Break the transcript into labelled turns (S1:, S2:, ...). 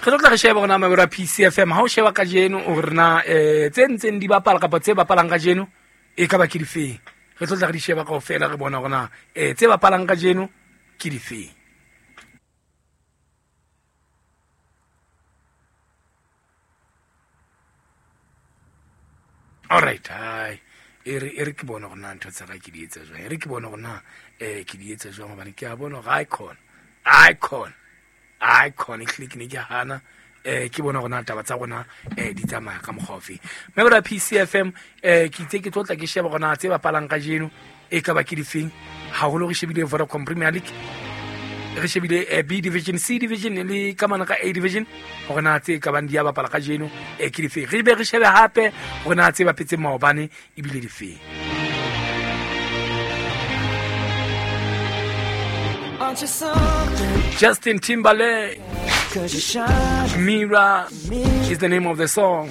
S1: Re tlo tla re sheba gona mabero a PCFM ha o sheba kajeno hore na tse ntseng di bapala kapa tse bapalang kajeno e ka ba ke difeng. Re tlo tla re di sheba kaofela re bona hore na tse bapalang kajeno ke difeng. Alright, hai e re e re ke bone gore na ntho tsa ka ke di etsa jwang, e re ke bone gore na ke di etsa jwang, gobane ke a bona gore icon icon icon e hlile ke ne ke hana ke bona gore na taba tsa rona di tsamaya ka mokgwa ofe. Mme PCFM ke itse ke tlo tla ke sheba gore na tse bapalang kajeno e ka ba ke difeng, haholo re shebile Vodacom Premier League, re shebile B division, C division le ka mana ka A division, gore na tse ka bang di ya bapala kajeno ke difeng. Re be re shebe hape gore na tse bapetseng maobane ebile difeng. Justin Timberlake, Mirror is the name of the song.